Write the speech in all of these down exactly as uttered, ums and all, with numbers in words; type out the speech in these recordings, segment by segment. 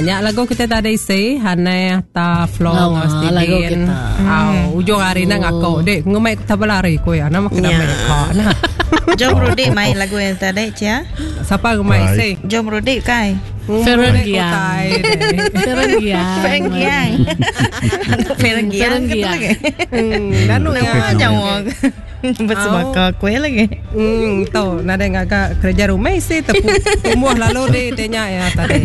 Nya lagu kita tadi si Hana ta Flo Lawa, ngau lagu Steven. kita. Au ujung hari nak ngakau dek ngumai kita berlari ko ya nama kena Ya. mai ka nah. Jom Rudik main lagu yang tadi cia. Siapa ngumai si? Jom Rudik kai. Ferren Ngumai Giang. kotai dek. Ferren Giang. Ferren Giang. Ferren Giang Ferren kata Giang. lagi. Hmm, danu ya. Nama jauh. Bersebaka kue lagi. Hmm, tu nada ngagak kerja rumah isi tepu tumbuh lalu di tanya ya tadi.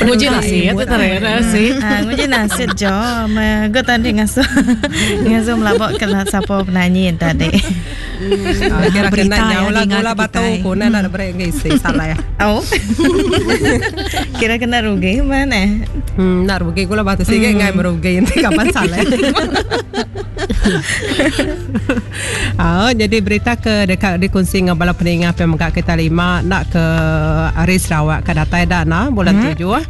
Nguji nasi ya tu terera sih. Ah, nguji nasib jo. Gue tadi ngasuh ngasuh melabok ke siapa penyanyi yang tadi. Ah, kira Berita kena ya, nyawa lah dinga gula ke batu kitai. kuna nak beri ngisi salah ya. Oh. Kira kena rugi mana? Hmm, nak rugi gula batu sih ngai merugi nanti kapan salah. Ah, jadi berita ke dekat dikongsi dengan bala peningah pemegak kita lima nak ke hari Sarawak ke datai dana bulan tujuh.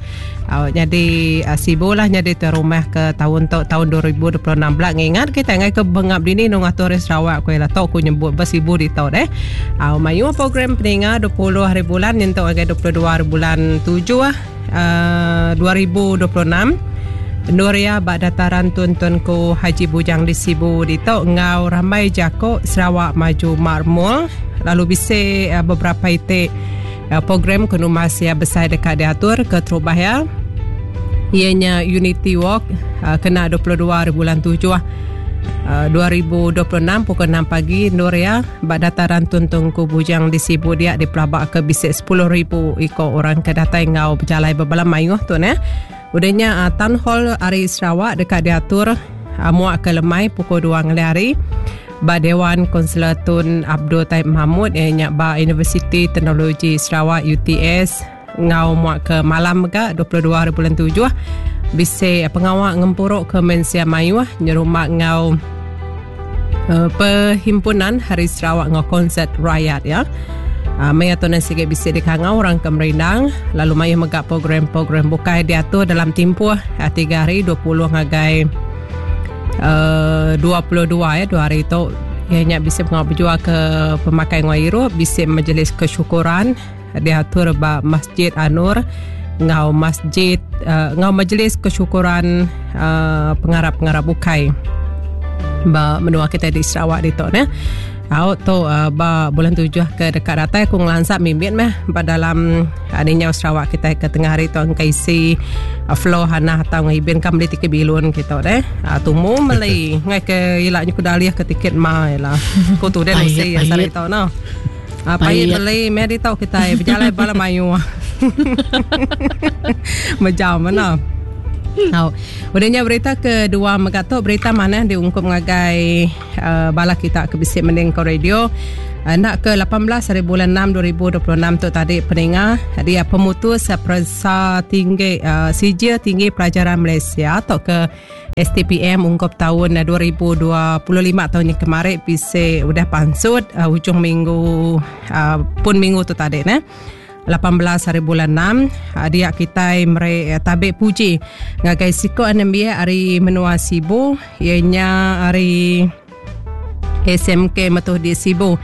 Ah, jadi uh, Sibu lah jadi tu rumah ke tahun tu tahun dua ribu dua puluh enam belak ngingat kita ngai ke bengap dini nung atur hari Sarawak ko lah tok ku nyebut bersibu di tau deh. Ah, mayu program peningah dua puluh hari bulan nyentuk agai dua puluh dua hari bulan tujuh uh, dua ribu dua puluh enam. Nuria bak dataran Tun Tunku Haji Bujang di Sibu di tok ngau ramai jako Sarawak Maju Marmul lalu bisa uh, beberapa itik uh, program kenumas ya besar dekat diatur ke terubah ya ianya Unity Walk uh, kena dua puluh dua hari bulan tujuh uh, dua ribu dua puluh enam pukul enam pagi Nuria bak dataran Tun Tunku Bujang di Sibu dia dipelabak ke bisik sepuluh ribu iko orang ke datai ngau berjalai berbalam mayuh tu ne. Udahnya uh, Town Hall Hari Sarawak dekat diatur uh, muak ke lemai pukul dua ngelih hari ba Dewan Konselor Tun Abdul Taib Mahmud ianya ba Universiti Teknologi Sarawak U T S ngau muak ke malam ga dua puluh dua hari bulan tujuh bise pengawak ngempuruk ke Mensia Mayuh nyerumak ngau uh, perhimpunan Hari Sarawak ngau konsert rakyat ya. Uh, maya tu nasi sikit bisik di kangau orang ke Merindang lalu maya megak program-program bukai diatur dalam tempoh uh, tiga hari dua puluh ngagai uh, dua puluh dua ya dua hari tu ianya bisik pengawak berjual ke pemakai ngau irup bisik majlis kesyukuran diatur ba Masjid Anur ngau masjid uh, ngau majlis kesyukuran uh, pengarap-pengarap bukai ba menua kita di Sarawak di tu ne. Au tu uh, ba bulan tujuh ke dekat datai aku ngelansap mimbit meh ba dalam adanya Sarawak kita ke tengah hari tu angkai isi uh, flow hana atau ngibin kam beli tiket bilun kita deh. Uh, tumu meli ngai ke ilaknya ku daliah ke tiket ma lah. Ku tu deh mesti Payet, asal payet. itu no. Uh, payet Payet. beli meh di tau kita berjalan bala mayu. Mejam mana. Tau. Udahnya berita kedua megatok berita mana diungkup ngagai uh, bala kita ke bisik mending ke radio. Uh, nak ke lapan belas hari bulan enam dua ribu dua puluh enam tu tadi peningah dia pemutus periksa tinggi uh, sijil tinggi pelajaran Malaysia atau ke S T P M ungkup tahun dua ribu dua puluh lima tahun ni kemarin bisik udah pansut uh, hujung minggu uh, pun minggu tu tadi ne. lapan belas hari bulan enam dia kita mere tabik puji ngagai siko anambia hari menua Sibu ianya hari S M K Metuh di Sibu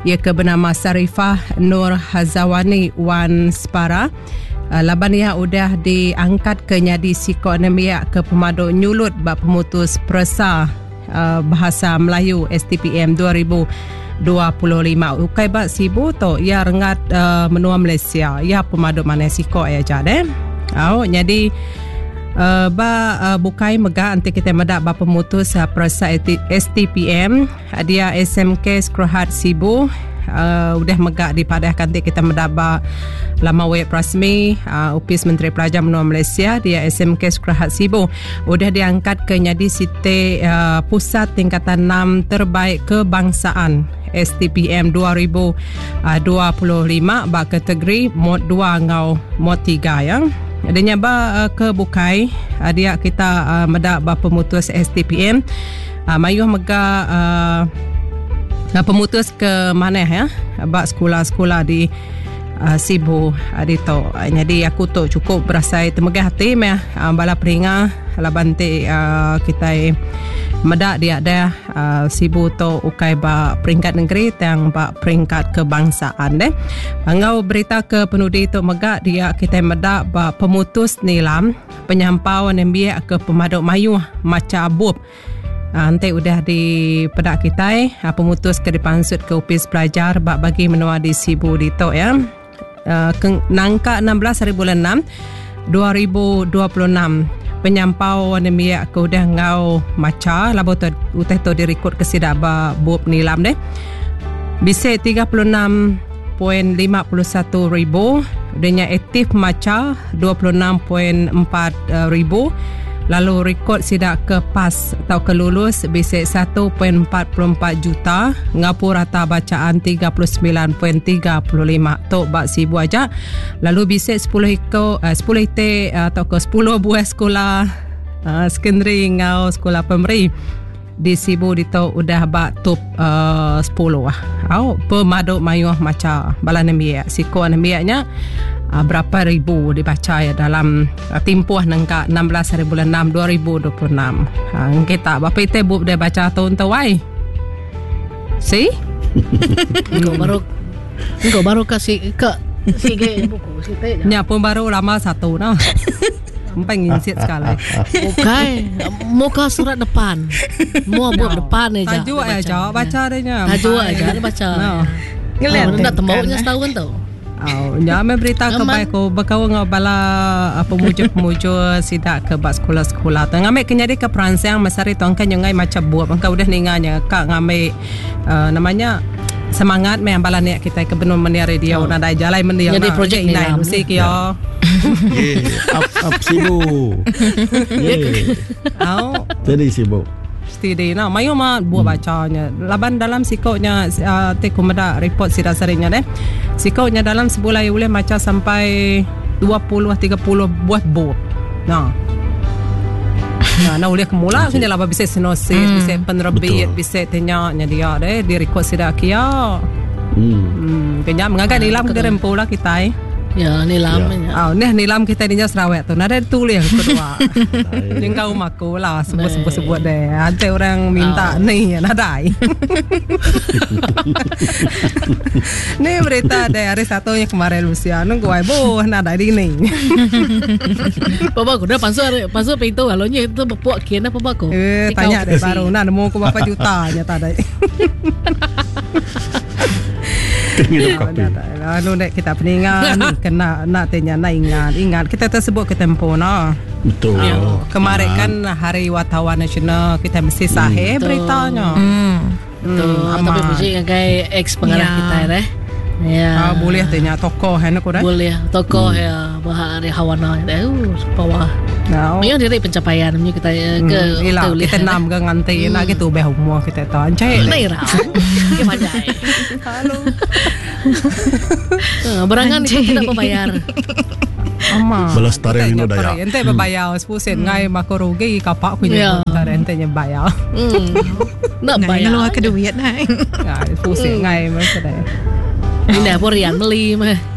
ia ke bernama Sarifah Nur Hazawani Wan Spara laban ia udah diangkat ke nyadi siko anambia ke pemadu nyulut bab pemutus peresa bahasa Melayu S T P M dua ribu dua puluh lima ukai bak Sibu tu ia rengat uh, menua Malaysia ia pemaduk mana siko ya jade. Au jadi uh, ba uh, bukai mega nanti kita medak ba pemutus uh, peresa S T P M dia S M K Skrohat Sibu uh, udah mega dipadahkan nanti kita medak ba lama web rasmi uh, Upis Menteri Pelajar Menua Malaysia dia S M K Skrohat Sibu udah diangkat ke nyadi site uh, pusat tingkatan enam terbaik kebangsaan S T P M dua ribu dua puluh lima bak kategori mod dua ngau mod tiga ya. Adanya ba uh, ke bukai uh, dia kita uh, medak ba pemutus S T P M uh, mayuh mega uh, pemutus ke mana ya bak sekolah-sekolah di uh, Sibu uh, dito. Uh, jadi aku tu cukup berasai temegah hati meh uh, bala peringa laban ti uh, kita medak dia dah uh, Sibu tu ukai ba peringkat negeri tang ba peringkat kebangsaan deh. Ngau berita ke penudi tu megak dia kita medak ba pemutus nilam penyampau nembiak ke pemaduk mayuh maca bup. Uh, nanti udah di pedak kita uh, pemutus ke dipansut ke Upis Pelajar ba bagi menua di Sibu dito ya. Uh, ke, nangka enam belas hari bulan enam dua ribu dua puluh enam penyampau nembiak ke udah ngau maca labo tu uteh tu direkod ke sidak ba bup nilam deh. Bisa tiga puluh enam koma lima satu ribu, udahnya aktif maca dua puluh enam koma empat ribu, lalu rekod sidak ke pas atau ke lulus bisa satu koma empat empat juta, ngapu rata bacaan tiga puluh sembilan koma tiga lima tok bak Sibu aja. Lalu bisa sepuluh iko eh, sepuluh ite atau ke sepuluh buah sekolah uh, secondary ngau sekolah primary di Sibu dito udah bak top uh, sepuluh ah. Au pemaduk mayuh maca bala nembiak. Siko nembiaknya uh, berapa ribu dibaca ya dalam uh, timpuh nengka enam belas hari bulan enam dua ribu dua puluh enam. Ha kita berapa ite bup dia baca tahun tu wai. Si? Engkau baru engkau baru kasih ke sige buku site. Nya pun baru lama satu noh. Sampai nginsit sekali. Bukan, muka surat depan. Mua buat depan aja. Tajuk aja, baca dia. Tajuk aja dia baca. Ngeliat dah temboknya setahun tu. Oh, nya me berita ke baik ko bekau ngau bala pemujuk-pemujuk sidak ke bak sekolah-sekolah. Tu ngambil ke nyadi ke peransang masari tu angkan nyengai macam buat angka udah ninganya kak ngambil uh, namanya semangat me bala niat kita ke benun menia radio oh. Nadai jalai mendia. Jadi projek ni lah mesti kio. Yeah, up up Sibu. Yeah. Au. Jadi Sibu. Steady nah, mayu mah buat bacanya. Laban dalam sikoknya uh, te kumeda report sida seringnya deh. Sikoknya dalam sebulan boleh baca sampai dua puluh tiga puluh buah bup. Nah. Nah, nah boleh kemula kena lah bisa sinosis, hmm. bisa penerbit, bisa tanya nya dia deh di record sida kia. Hmm. Hmm, kena mengagai nilam ke rempu lah kita. Eh. Ya, nilam ya. Oh, ni nilam kita ni Sarawak tu. Nada tulis kedua. Jeung kau maku lah sebut-sebut deh. Ada orang minta oh. Ni nadai. Ni berita deh hari satu yang kemarin Lucia nunggu ai boh nadai di ni. Bapa aku dah pasal pasal pintu kalau nya itu bepuk kena apa aku. Eh, tanya deh baru nah nemu aku berapa juta nya tak ada. Lalu nak kita peningan kena nak tanya nak ingat ingat kita tersebut ke tempo nah. Betul. Ya. Kemarin kan Hari Wartawan Nasional kita mesti sahih hmm. beritanya. Hmm. Betul. Hmm. Tapi puji ngagai ex pengarah ya. Kita deh. Ya. Ah, boleh tanya tokoh hen aku dah. Boleh tokoh hmm. ya bahari hawana eh bawah. No. Memang diri pencapaian punya kita hmm. ke Ila, kita enam ke nganti hmm. nak gitu beh umur kita tahu. Encik. Nei rau. Ke pandai. Halo. Berangan itu tidak membayar. Ama. Balas tarik ini daya. Ente berbayar sepuluh sen ngai mako rugi kapak ku nya ente nya bayar. Hmm. Nak bayar. Ngeluar ke duit nai. Ya, sepuluh sen ngai masa dah. Ini apa rian beli mah.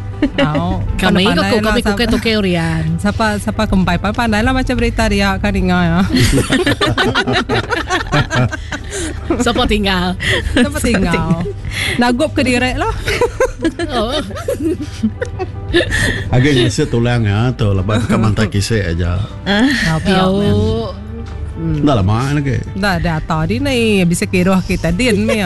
Oh, kami kok kami kuke toke rian. Siapa siapa kempai pandai lah macam berita dia kan ingat ya. Siapa tinggal? Siapa tinggal? Nagup ke direk lah. Oh. Agak ngisi tulang ya, tu lepas ke mantai kisah aja. Oh. Dah lama lagi. Dah dah tadi ni bisa kira kita din ni.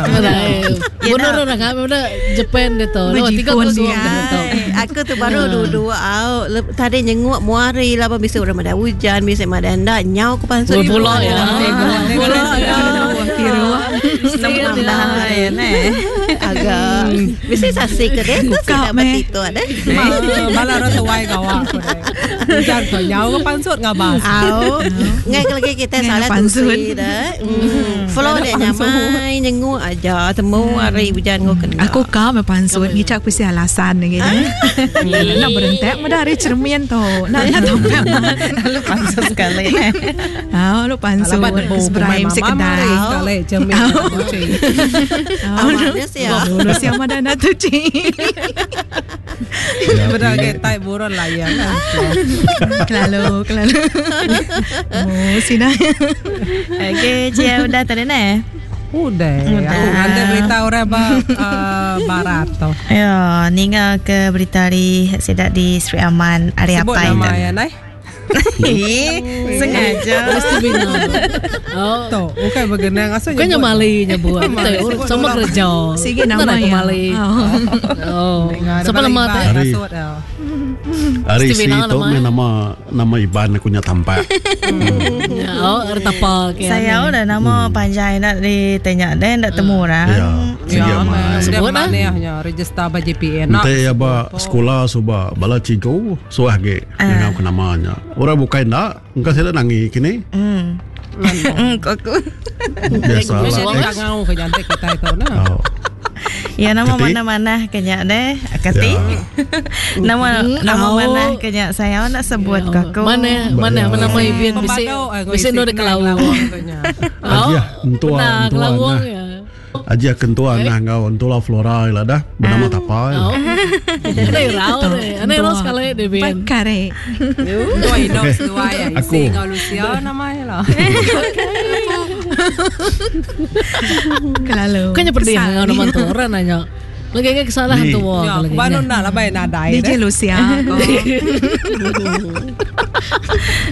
Benar orang kami udah Japan dia tu. Dua tiga kosong dia tu. Aku tu baru dua-dua au. Tadi nyenguk muari lah bisa orang ada hujan, bisa ada ndak nyau ke pansut. Bola ya. Bola ya. Kira. Senang ya ne. Agak bisa sasi ke dia tu sudah begitu ada. Bala orang tuai kau aku deh. Hujan kau nyau ke pansut ngabas. Au. Ngai lagi kita salah tu dah. Flow dia nyamai nyenguk aja temu hari hujan kau kena. Aku kau me pansut ngicak pisi alasan gitu. Nak berentek meda hari cermin tu. Nak nak tompel. Lu pansut sekali. Ah, lu pansut. Seberai mesti kedai. Sekali cermin. Amalnya siap. Lu siap mana nak tu ci. Benar ke tai burung layang. Kelalu, kelalu. Oh, sina. Okey, cia udah tadi ne. Udah. Aku nganti berita orang ba uh, barat tu. Ya, ninga ke berita hari sedak di Sri Aman hari Sebut apa nama ya, nai. Sengaja. Mesti bina. Oh. Tu, bukan bergenang asal Bukannya mali nyebut. Sama kerja. Sige nama ya. Mali. Oh. Siapa nama tu? Hari. Hari si tu nama nama Iban aku nya tampak. Oh, tapa. Saya udah nama panjang nak ditanya dan nak temu orang. Ya. Sige mai. Sebut lah. Register ba J P N. Nanti ya ba sekolah suba bala cikgu suah ge dengan aku namanya. Orang bukan nak, engkau saya nangi kini. Hmm. Hmm, aku. Biasa lah. Tak ngau ke jantik kita itu nah. Ya nama mana-mana kenya deh, Kati. Nama nama mana kenya saya nak sebut ke aku. Mana mana nama ibin bisi bisi nu de kelawang. Aja entua entua. Aja kentua nah ngau entua Flora lah dah bernama tapa. Ane rau deh, ane rau sekali deh bin. Pakare. Dua hidup dua ya. Isi ngau Lucia namanya lah. Kelalu. Kayaknya pedih ngau nama tu orang nanya. Lagi lagi kesalahan tu wah. Ya, baru nak lah baik nadai. D J Lucia.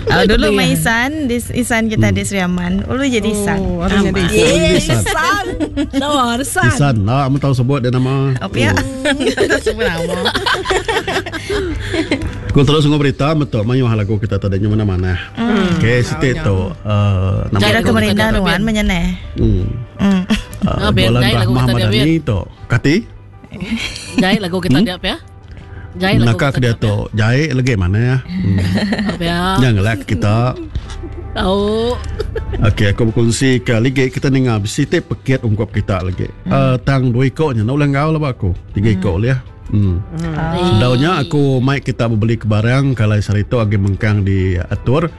Oh, dulu main Isan, Isan kita di Sri Aman. Ulu jadi Isan. Oh, jadi Isan. Isan. Tahu Isan. Isan lah, kamu tahu sebut dia nama. Apa ya? Tahu sebut nama. Aku terus ngomong berita betul mayu lagu kita tadi mana-mana. Okey, situ tu nama. Kira kemerintah nuan menyene. Hmm. Jualan Rahmah Madani tu. Kati? Jahit lagu kita dia apa ya? Jahit lagu kita dia tu. Jahit lagi mana ya? Jangan lah kita. Tahu. Okey, aku berkongsi ke lagi kita dengar bisi pekit ungkap kita lagi. Tang dua ikoknya nak ulang kau lah aku. Tiga ikok lah. Hmm. Sedaunya aku mic kita beli ke barang kalau sarito agi mengkang diatur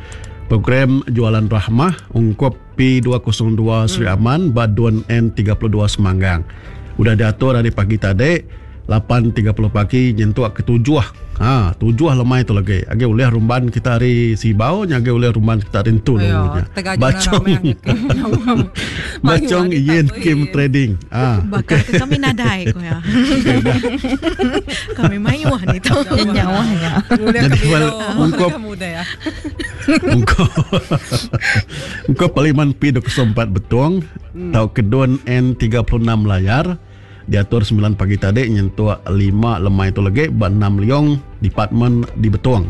program jualan Rahmah ungkap P dua kosong dua Sri Aman Baduan N tiga puluh dua Semanggang. Udah diatur dari pagi tadi lapan tiga puluh pagi nyentuk ke tujuh. Ha, tujuh lemai tu lagi. Agi oleh rumban kita hari Sibau, nya agi oleh rumban kita hari Entu. Bacong. Bacong Yen Kim Trading. Ah, bakal okay. Kami nadai ko ya. Kami mayuh ni tu. Nyawahnya. Jadi ungkap ungkap ungkap Parlimen P dua kosong empat Betong, tau Kedun N tiga puluh enam Layar. Diatur sembilan pagi tadi nyentuh lima lemai tu lagi ba enam liong department di Betong.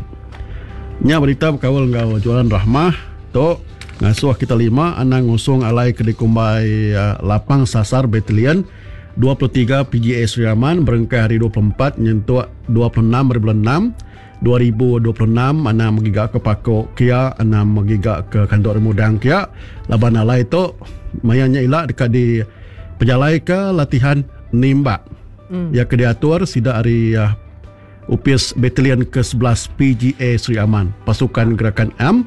Nya berita berkawal ngau jualan Rahmah tu ngasuh kita lima anang ngusung alai ke dikumbai uh, lapang sasar batalion dua puluh tiga P G A Sri Aman berengkah hari dua puluh empat nyentuh dua puluh enam bulan enam dua ribu dua puluh enam anang magiga ke Pakok kia anang magiga ke Kantor Remudang kia laban alai tu mayanya ilak dekat di pejalai ke latihan nimbak. Hmm. Yang diatur sida hari uh, Upis Batalion ke sebelas P G A Sri Aman, pasukan gerakan M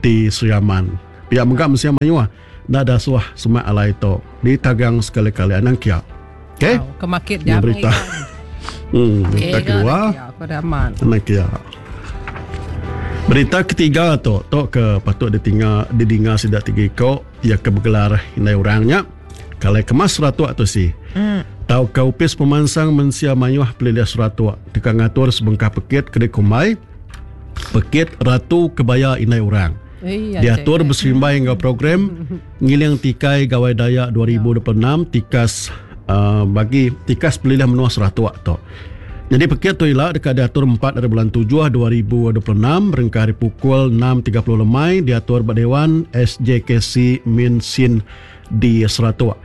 di Sri Aman. Pihak menggak mesti mayuah nak dah suah semak alai tu ditagang sekali-kali anang kia. Okey. Oh, kemakit jam berita. Hmm, berita okay, kedua. Anang kia. Berita ketiga tu, tu ke patut ditinggal didinga sida tiga ikok ia ke bergelar indai orangnya. Kalau kemas seratuk tu si. Hmm. Tau kaupis pemansang mensia mayuh pelilih seratuk dekat ngatur sebengkah pekit kedai kumai pekit Ratu Kebaya Inai Orang. Diatur berserimbai dengan program Ngiling Tikai Gawai Dayak dua ribu dua puluh enam tikas uh, bagi tikas pelilih menua seratuk tu. Jadi pekit tu ialah dekat diatur empat dari bulan tujuh dua ribu dua puluh enam berengkah hari pukul enam tiga puluh lemai diatur Dewan S J K C Min Sin di Seratuk.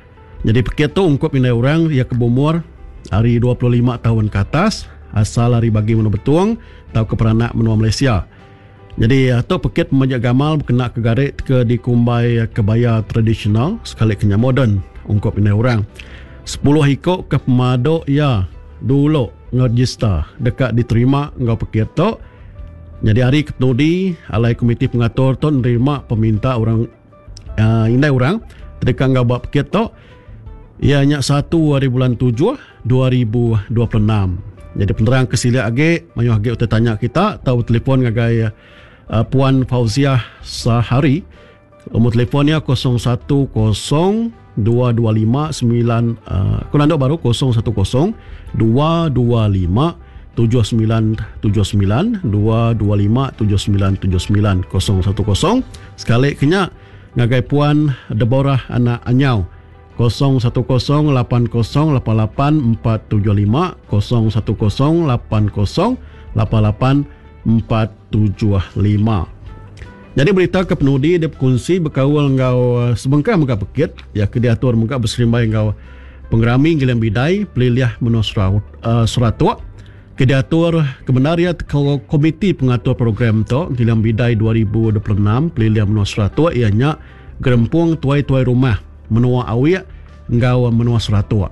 Jadi pekit tu ungkup indai orang ia ke berumur hari dua puluh lima tahun ke atas asal hari bagi menua Betung atau ke peranak menua Malaysia. Jadi tu pekit pemajak gamal berkena ke garik ke dikumbai kebaya tradisional sekali kenya moden ungkup indai orang. sepuluh ikok ke pemaduk ya dulu ngeregister dekat diterima ngau pekit tu. Jadi hari ketudi alai komiti pengatur tu nerima peminta orang uh, indai orang dekat ngau buat pekit tu. Ia nyak satu hari bulan tujuh dua ribu dua puluh enam. Jadi penerang ke siliak agi, mayuh agi utai tanya kita atau telefon ngagai uh, Puan Fauziah Sahari. Nombor telefonnya kosong satu kosong dua dua lima sembilan uh, aku baru kosong satu kosong dua dua lima tujuh sembilan tujuh sembilan dua dua lima tujuh sembilan tujuh sembilan kosong satu kosong. Sekali kenya ngagai Puan Deborah anak Anyau kosong satu kosong lapan kosong lapan lapan empat tujuh lima kosong satu kosong lapan kosong lapan lapan empat tujuh lima. Jadi berita ke penudi dia berkongsi berkaul ngau sebengkah mega pekit ya ke diatur mega berserimbai ngau pengerami Gilang Bidai Peliliah Menua Seratuk ke diatur kebenar ya komiti pengatur program tu Gilang Bidai dua ribu dua puluh enam Peliliah Menua Seratuk ianya gerempung tuai-tuai rumah Menua Awiak ngau Menua Seratuk.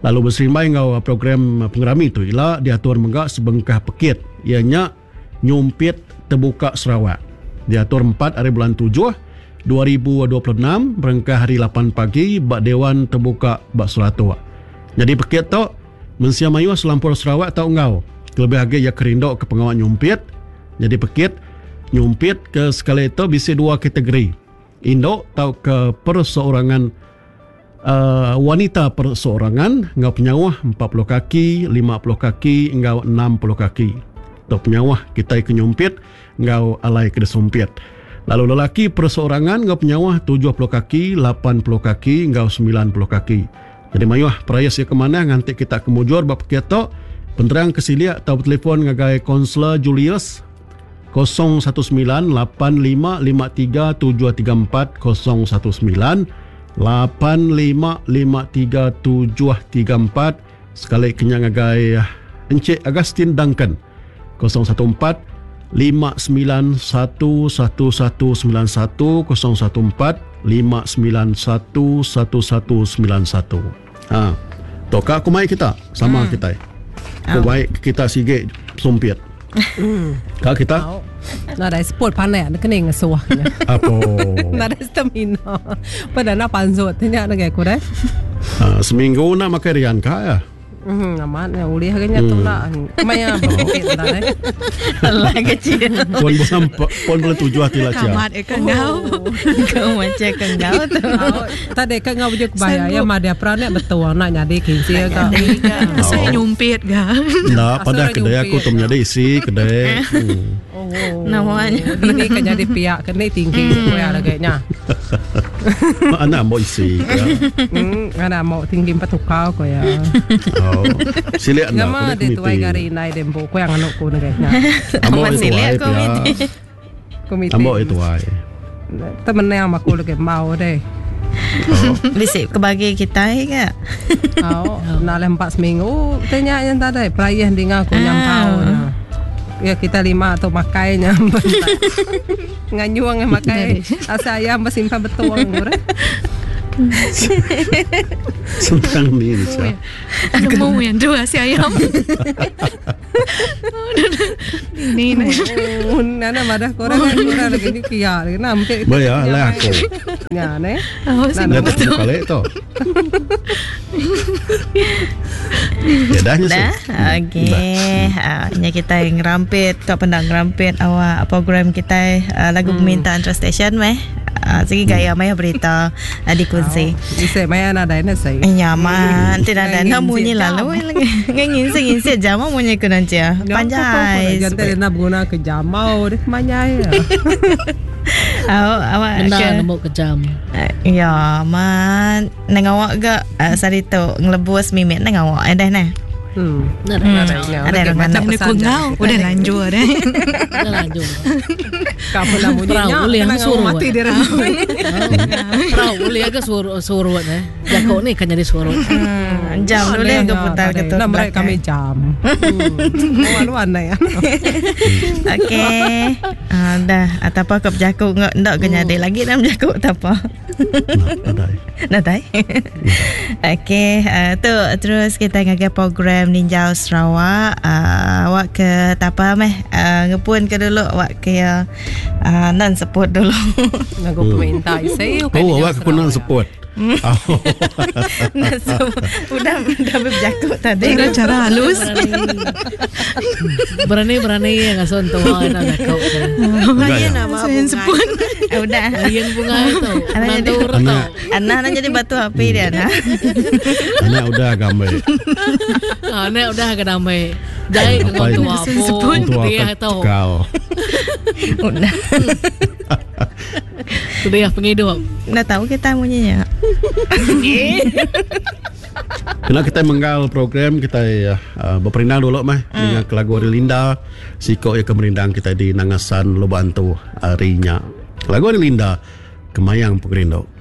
Lalu berserimbai ngau program pengerami tu ila diatur mega sebengkah pekit ianya nyumpit terbuka Sarawak. Diatur empat hari bulan tujuh dua ribu dua puluh enam berengkah hari lapan pagi bak Dewan Terbuka bak Seratuk. Jadi pekit tu mensia mayuh selampur Sarawak tau ngau. Kelebih lagi ya kerindok ke pengawak nyumpit. Jadi pekit nyumpit ke sekali itu bisa dua kategori. Induk tau ke perseorangan uh, wanita perseorangan ngau penyawah empat puluh kaki, lima puluh kaki ngau enam puluh kaki. Tau penyawah kita ke nyumpit ngau alai ke sumpit. Lalu lelaki perseorangan ngau penyawah tujuh puluh kaki, lapan puluh kaki ngau sembilan puluh kaki. Jadi mayuh peraya sia ke mana nganti kita kemujur bab pekit tu penerang ke siliak atau telefon ngagai Konselor Julius kosong satu sembilan lapan lima lima tiga tujuh tiga empat kosong satu sembilan lapan lima lima tiga tujuh tiga empat. Sekali kenyang ngagai Encik Agustin Duncan kosong satu empat lima sembilan satu satu satu sembilan satu kosong satu empat lima sembilan satu satu satu sembilan satu. Ha. Tok aku mai kita sama hmm. kita. Aku baik kita sige sumpit. Hmm. Kak kita Nada sport pandai nak kena ngesuah. Apa? Nada stamina. Pada nak panzot tanya nak aku dah. Ha, seminggu nak makan rian kak ya. Hmm, amat ya ulih kena tu lah. Maya berpikir dah eh. Allah kecil. Pon bulan pon bulan tujuh hati lah cia. Kamat ikan kau. Kau macam kan kau tu. Tadi kan ngau baju kebaya ya mah dia peranak betul nak nyadi kinsi ka. Saya nyumpit ga. Nah, pada kedai aku tu menjadi isi kedai. Oh. Namanya. Ini kan jadi pihak kena tinggi koya lagi nya. Anak mau isi. Hmm, anak mau tinggi empat tukau koya. Oh. Silik nak Ngama dia tuai gari nai dembo ko yang anok ko na gaya. Ambo itu ai komiti. Komiti. Ambo itu ai. Temen yang aku lagi mau deh. Bisik kebagi kita ke? Oh, nak empat seminggu tanya yang tadi perayaan dengar aku nyampau. Ya kita lima atau makainya. Nganyuang yang makai. Asa ayam bersimpan betul orang. Sentang ni ni. Nemu yang dua si ayam. Ni ni. Nana madah korang korang lagi ni kia lagi nampak. Bayar lah aku. Ya ne. Oh, Nana betul kali tu. Ya dah ni. Dah. Okey. Nya kita yang ngerampit, kau pendang ngerampit awak program kita lagu permintaan Trust Station meh. Segi gaya maya berita dikongsi. Bisa maya nada ini saya. Nyaman, tidak ada namunyi lalu lagi. Ngin ngin jama munyi ke nanti ya. Panjai. Jangan nak guna ke jamau deh manya ya. Awak awak benda nemu ke jam. Ya, man nang awak ga sari tu ngelebus mimit nang awak dah nah. Hmm. Ada orang mana ku ngau udah lanjut deh. Udah lanjut. Kau pernah bunyinya boleh yang suruh mati dia. Perahu boleh agak suruh suruh eh. Jakok ni kan jadi suruh. Jam boleh ke putar ke tu. Nak mereka kami jam. Malu aneh ya. Okey. Dah atau apa kau jakok ndak ke jadi lagi dalam jakok tak apa. Nadai. Nadai. Okey, tu terus kita ngagai program Ninjau Sarawak. Uh, awak ke tapa meh uh, ngepun ke dulu awak ke uh, nan support dulu. Ngago peminta isi. Oh, awak ke nan support. Oh. Udah udah berjakut tadi. Cara cara halus. Berani-berani yang ngasuh tua nak jakut. Lain nama Lain bunga. sepun. Eh, Udah. Lain bunga itu. Anak jadi Nanti urut Anak. tau. Anak nak jadi batu api dia anak. Anak udah gambar. Anak udah ke damai. Jai ke Sampai tua pun. Tua Dia itu. kekal. Udah. Dia penghidup. Nggak tahu kita bunyinya. Kena kita menggal program kita uh, berperindang dulu mah mm. dengan lagu Ari Linda siko ya ke merindang kita di Nangasan Lobantu harinya. Lagu Ari Linda Kemayang Pengerindu.